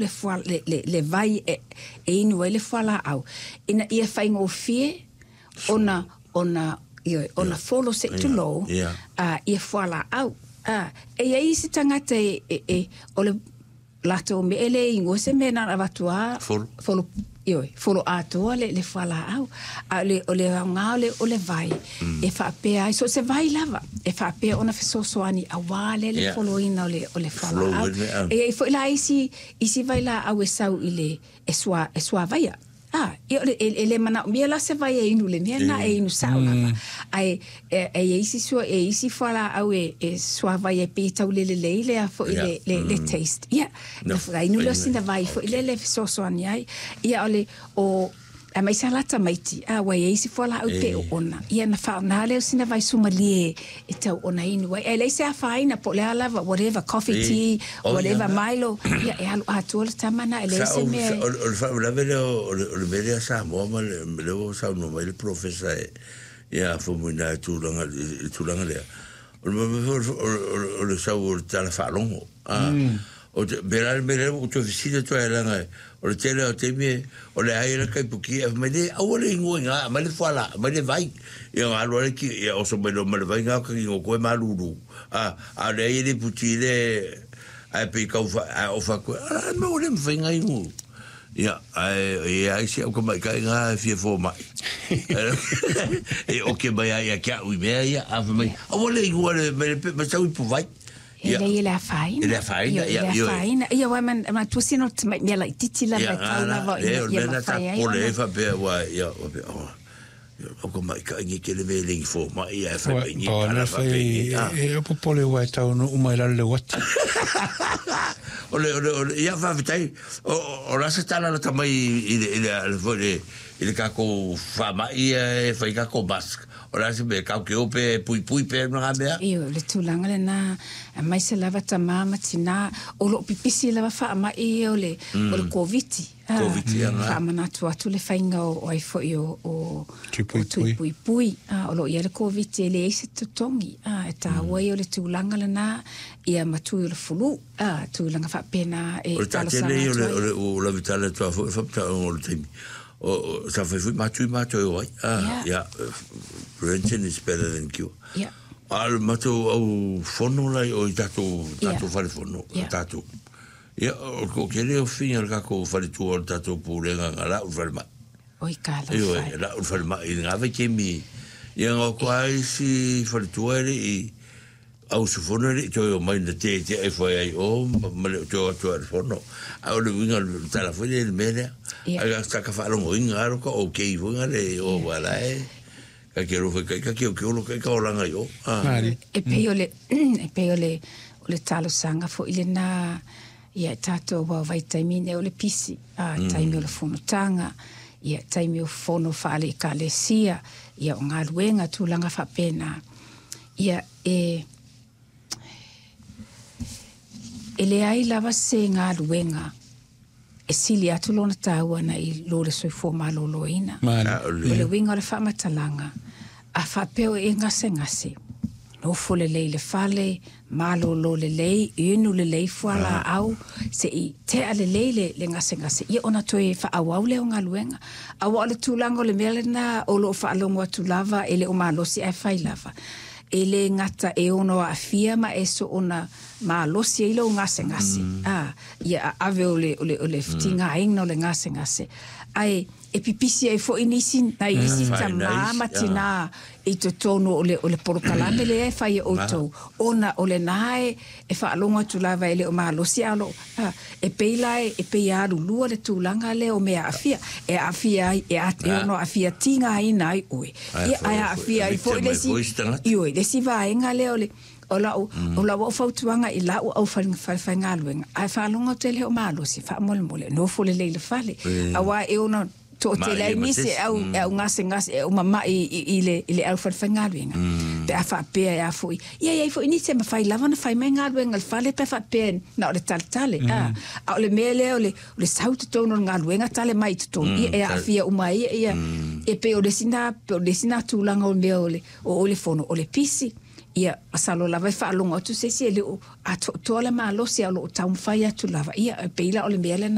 le fua, le vai e inu ai le fualaau, ina ia faigofie ona ioe, ona folo se i tulou ia fualaau. E i ai isi tagata e o le latou mea e le igoa se mea na ona avatu lava Folo. Folo, ioe, folo atoa le fualaau. A o le aoga o le vai e faapea ai, so o se vai lava, e faapea ona fesoasoani aua lea le foloina o le fualaau. E i ai foi la isi vailaau e sau i le e suavaia. Ia e le manaomia la se vai e inu le mea na e inu sao lava. Ae e i ai isi sua e isi fualaau e suavaia e pei tau lelelei lea foi le taste. Ia, na inu lea o sina vai foi lea le fesoasoani ai. Ia o le o aemaise lava la tamaiti, ua i ai isi fualaau pe oona. Ia na faaaoga lea o sina vai sumalie e tau ona inu ai. E leai se afaina po o le a lava, whatever, coffee, tea, whatever, Milo, ia e alu atoa le tama na, e leai se mea. O le faalavelave lea o le mea lea Samoa ma lea ua saunoa mai le polofesa ia Faumuina i le tulaga lea. O le mea foi o le sau o le tala faalogo. O te, me la me le o te fesili atu ai leaga o le tele o taimi o le ai le kaipuki e mai le aua le ingoa i ngā, mai le fuala, mai le vai. Ia ngā lua le ki, ia oso mai lo mai le vai ngā kaki ngō koe malulu. A le ai le puti le, ai pe kau wha, ai ofa koe, ara me o le mwhai ngā ingo. Ia, ai, e ai se au ka mai kai ngā e fia fō mai. E oke mai ai a kia ui mea ia, a wha mai, aua le ingoa le, mai le pe, mai sau i pu vai. E lei e le afaina. E le afaina, ia, ia. E le afaina. Ia, uae manatua sina o le tamai mea laitiiti lava e tau lava ina ia mafai ai ona. Ia, pole e faapea, ua, ia, faapea, oh, o ka maikaʻi nei tele mea e lengi fomai ae fai mai nei tala faapea nei. E popole ua e taunuu mai lalo le uati. O le, o le, o le, ia faafetai, o le a se tala lata mai i le, i le, i le, i le tatou faamai ia e fai tatou mask. O le a se mea, tatou te o pe puipui pe ma ngā mea? Ioe, o le tulaga lena, aemaise lava tama ma tina, o lo o pipisi lava faamai ia o le, o le Koviti. Koviti, ia ngā. Faamanatu atu le faiga o ai foi o, o, o tuipuipui. O lo o i ai le Koviti e leai se totogi. E taua ia o le tulaga lena, ia ma tui o le fulu, tulaga faapena e O le talosaga tele ia atu ai. o le o lavitala atu a foi faaputaoga o le taimi. O, sa fai foi mātou i mātou e o ai. Yeah. Prevention is better than cure. Yeah. A o le matou au fono la i o i tatou, tatou fale fono, tatou. Ia, o le toatele o fafine o le tatou faletua o le tatou pulega na lau i le falemai. Oi ka lau Ioe, fale. lau i le falemai i lena vaitaimi. Ia, na o atu lava isi faletua e le i, Au usufono e le i toe omai na tetea ifo ai ai o ma le o toe o atu ai i le fono. Ae o le uiga o le tala foi lea i le mea lea. Ai ka ka faalogoina lava ka okay foi nga le o wa la e ka ke alofa kai ka keokeolo kai ka olaga i o. E pei o le e pei o le o le talosaga foi lena ia e tatou aua o vaitaimi nei o le pisi, a taimi o le fonotaga, ia taimi o fono faale-ekalesia, ia o galuega tulaga faapena. Ia, e, e leai lava se galuega e sili atu lona taua na i lo le soifua maloloina. O le uiga o le faamatalaga, a faapea o e gasegase, nofo lelei i le fale, malolo lelei, inu lelei fualaau, se i tea lelei le, le gasegase, ia ona toe faaauau lea o galuega. Aua o le tulaga o le mea lena o lo o faalogo atu lava e le o malosi ae fai lava. E le gata e ono aafia ma e soona malosi ai lou gasegase, a, ia aave o le, o le, o le tigaina o le gasegase. Ae e pipisi ai foi nisi, nai isi tamā ma tinā i totonu o le, o le polokalame lea e fai e outou, ona o lena e, e faalogo atu lava e le o malosi a o lo, a, e pei la e, e pei e alulua le tulaga lea o mea aafia, e aafia ai, e, a, e ono aafia tigaina ai oe. Ia, ae aafia ai foi le isi, ioe, le isi vaega lea o le, o lau, o lau au fautuaga i lau au falefaigaluega, ae faalogo atu e le o malosi, faamolemole, nofo lelei i le fale, auā e ono toatele ai nisi e au, e au gasegase, e au mama'i i le, i le au falefaigaluega, pe a faapea e a foi. Ia, e i ai foi nisi e mafai lava ona fai mai galuega i le fale pe a faapea na o le taletale, a, a o le mea lea o le, o le sau i totonu o le galuega tale mai i totonu, ia, e aafia uma ai ia, e pei o le isi na, o le isi na tulaga o le mea o le, o le fono, o le pisi. Ia, masalo lava e faalogo atu se isi e le o atoatoa le malosi, a o lo o taumafai atu lava. Ia, e pei la o le mea lena.